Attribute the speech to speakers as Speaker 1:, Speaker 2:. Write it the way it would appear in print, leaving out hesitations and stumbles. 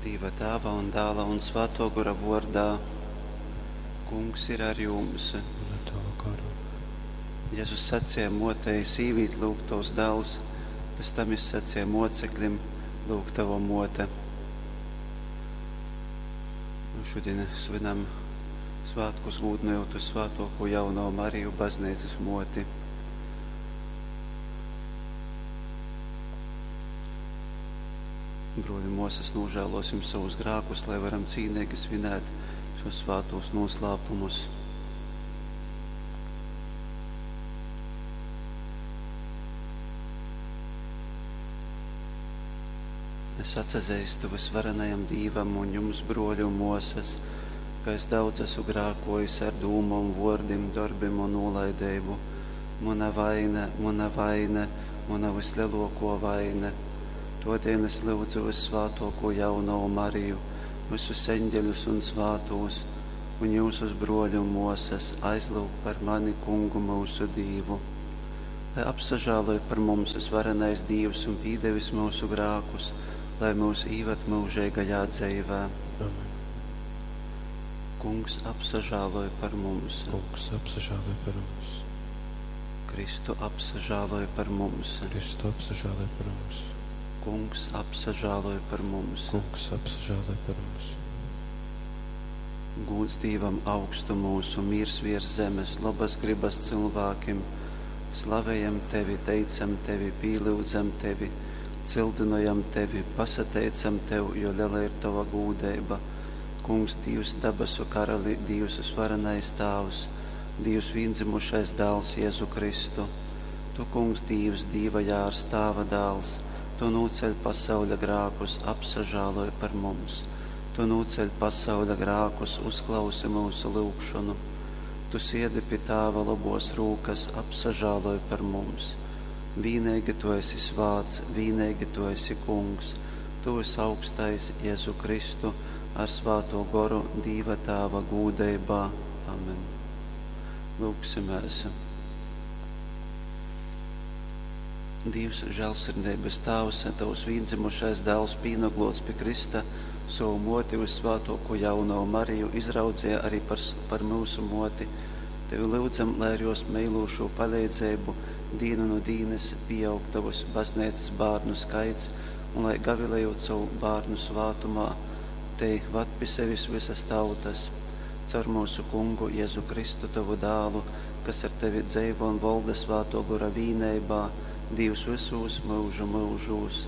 Speaker 1: Dīva Tāva un Dāla un Svātō Gora vōrdā. Kungs ir ar jums.
Speaker 2: Un ar tavu garu.
Speaker 1: Jezus saceja mōtei, sīvīt, lyuk, tovs dāls, pēc tam jys saceja mōceklim, lyuk, tava mōte. Un šodien svinam svētkus gūdynojot uz svētoko jauno Mariju, bazneicas mōti. Brōļi, mōsas, nožēlosim savus grēkus, lai varam cīnīgi svinēt šos svātos noslēpumus. Es atsazeistu vysvarenajam Dīvam un jums, brōļi un mōsas, ka es daudz esmu grēkojis ar dūmom, vōrdim, dorbim un nūlaideibu. Muna vaine, muna vaine, muna vislielākā vaine. Todēļ es lūdzu vyssvātōko jaunavu Mariju, visus eņģeļus un svātūs, un jūsus, brōļi un mōsas, aizlūgt par mani Kungu myusu Dīvu. Lai apsažāloj par mums vysvarenais Dīvs un pīdevis myusu grākus, lai mūs īvad mūžīgajā dzeivē.
Speaker 2: Amen.
Speaker 1: Kungs apsažāloj par mums.
Speaker 2: Kungs apsažāloj par mums.
Speaker 1: Kristu apsažāloj par mums.
Speaker 2: Kristu apsažāloj par mums.
Speaker 1: Kungs apsažāloj par mums.
Speaker 2: Kungs apsažāloj par mums.
Speaker 1: Gūds Dīvam augstumūs un mīrs virs zemes, labas gribas cilvēkiem. Slavējam Tevi, teicam Tevi, pīlyudzam Tevi, cildinojam Tevi, pasateicam Tev, jo liela ir Tava gūdeiba. Kungs, Dīvs, dabasu karali, Dīvs varenais Tāvs, Dīvs vīndzimušais dāls Jēzu Kristu. Tu, Kungs, Dīvs, Dīva jārs, Tāva dāls, Tu nūceļ pasauļa grākus, apsažāloj par mums. Tu nūceļ pasauļa grākus, uzklausi mūsu lūgšanu. Tu siedi pie Tāva labos rūkas, apsažāloj par mums. Vīnīgi Tu esi svāts, vīnīgi Tu esi Kungs, Tu visaugstais Jēzu Kristu ar svāto goru Dīva Tāva gūdeibā. Amen. Lūgsimies. Dīvs, žēlsirdības Tēvs, Tavs vīndzimušais dēls pīnoglots pie Krista, savu moti vissvētāko jauno Mariju izraudzīja arī par mūsu moti. Tevi lūdzam, lai ar jos meilošo palīdzību dīnu no dīnes pieaug tavus baznīcas bērnu skaits un lai gavilējot savu bērnu svātumā, te vad pie sevis visas tautas. Caur mūsu kungu Jēzu Kristu, tavu dālu, kas ar tevi dzeivo un valda svāto gora vīneibā, Dīvs visos mūžu mūžos.